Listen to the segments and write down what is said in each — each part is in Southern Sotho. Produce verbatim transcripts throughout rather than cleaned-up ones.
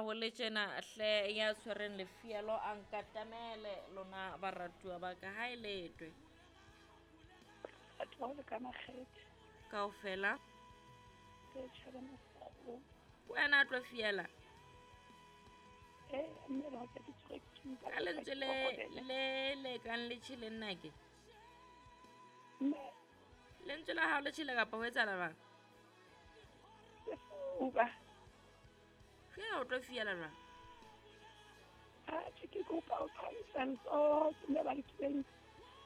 ho le tjena hle ya tshwereng lefielo a nkatamele lona baratuwa ba ka ha e letwe. Batho ba ho leka makgethe. Kaofela. Ke tjhaba mokgo. Wena a tlo fiela. Eh, mme ba ka ke tshwere ke mpa. Ka lentswe le le le kang le tjhele nna ke. Mme Lentswe la hao le tjhele kapa ho etsahala jwang? Sefuba. Fiela o tlo fiela jwang? Atjhe, ke kopa ho phahamisa letsoho ke mme ba nkileng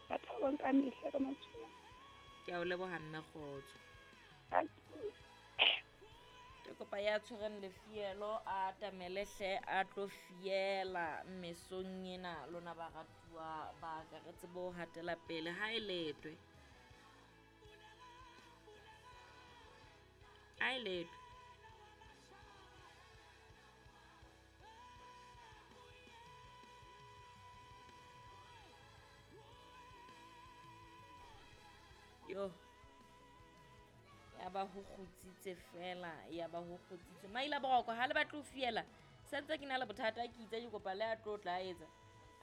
batho ba nka mehla ka matshwao. Ke a o leboha mme kgotso. Ke Ke kopa ya tshwereng lefielo a atamele hle a tlo fiela mesong ena lona baratuwa ba ka re tsebe ho hatela pele ha e letwe. Ha e letwe. Yo. Ya ba ho kgutsitse fela, ya ba ho kgutsitse. Maila boroko ha le batle ho fiela. Sentse ke na le bothata ke itse ke kopa le a tlo tla etsa.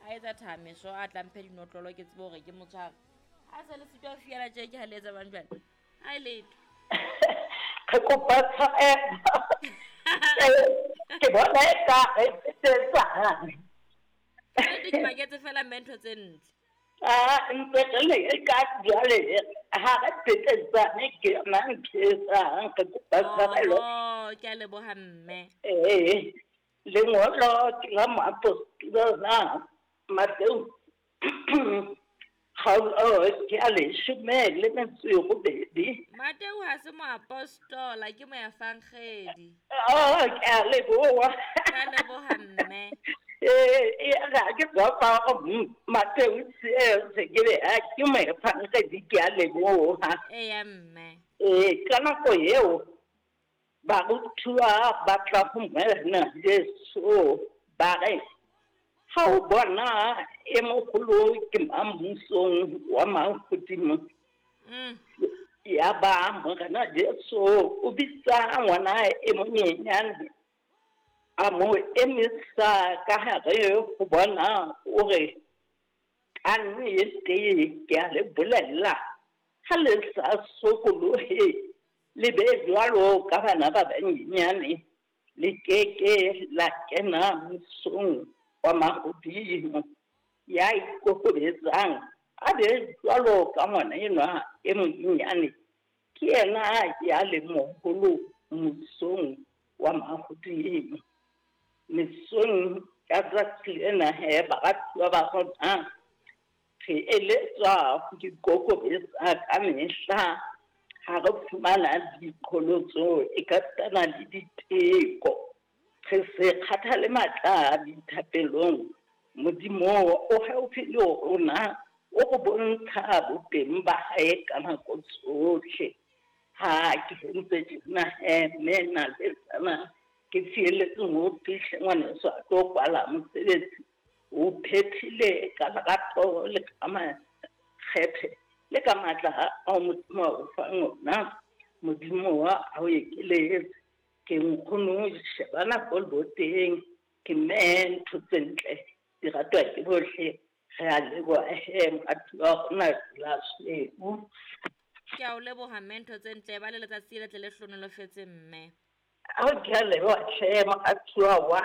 A etsa thameso a tla mphe dinotlolo ke tsebe hore ke motshware. Ha se le sitwa ho fiela tje ke ha le etsa bang jwale. Ha e letho. Re kopa tshwarelo. Ke bona eka re fetetsana. Kannete ke maketse fela mme ntho tse ntle. Ah, ntse re le ka jwale ha re fetetsane ke yona ntho e etsang re kopa tshwarelo. Oh, ke a leboha mme. Eh, lengolo ke la moapostola Mateo kgaolo ke a leshome le metso e robedi. Mateo ha se moapostola ke moefangedi. Oh, ke a leboha. Ke a leboha mme. Eh, ga ke tswa fa Mateo se ke be a ke moefangedi ke a leboha. Eya mme. Eh, ka nako eo barutuwa ba tla ho Morena Jesu ba re, ha o bona e moholo ke mang mmusong wa mahodimo. Mm. Ya ba Morena Jesu o bitsa ngwana e monyenyane a mo emisa ka hare ho bona o re, ka nnete ke a le bolella, ha le sa sokolohe le be jwalo ka bana ba banyenyane, le keke la kena mmusong wa mahodimo. Ya ikokobetsang a be jwalo ka ngwana enwa e monyenyane, ke yena ya le moholo mmusong wa mahodimo. Mesong ya tsatsi lena he baratuwa ba rona, re eletswa ho ikokobetsa ka mehla ha re fumana diqholotso e ka sitana le diteko. Re se kgathale matla dithapelong. Modimo o haufi le rona, o re bontsha boteng ba hae ka nako tsohle. Ha ke ntse tjena he mme na le tsana ke fieletse ho fihle ngwaneso a tlo kwala mosebetsi. O phethile ka lerato le ka makgethe le ka matla ao Modimo a o fang ona. Modimo wa a o ekeletse. Ke nkgono shebana ko leboteng, ke mme ntho tse ntle di ratwa ke bohle. Re a leboha he moratuwa wa rona la sweu. Ke a o leboha mme ntho tse ntle ba le letsatsi le tle le hlohonolofetse mme. Ao ke a leboha hle moratuwa wa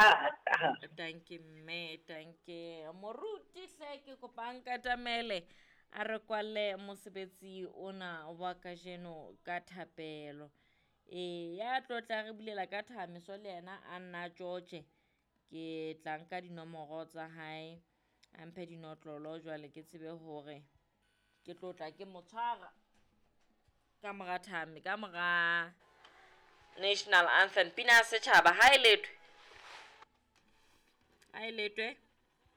ka. Danke mme, danke. Moruti hle ke kopa nkatamele a re kwalle mosebetsi ona wa kajeno ka thapelo. E ya tlo tla re bulela ka thameso le yena a nna George. Ke tla nka dinomoro tsa hae a mphe dinotlolo jwale ke tsebe hore ke tlo tla ke mo tshwara ka mora thame, ka mora National Anthem pina ya setjhaba. Ha e letwe, ha e letwe.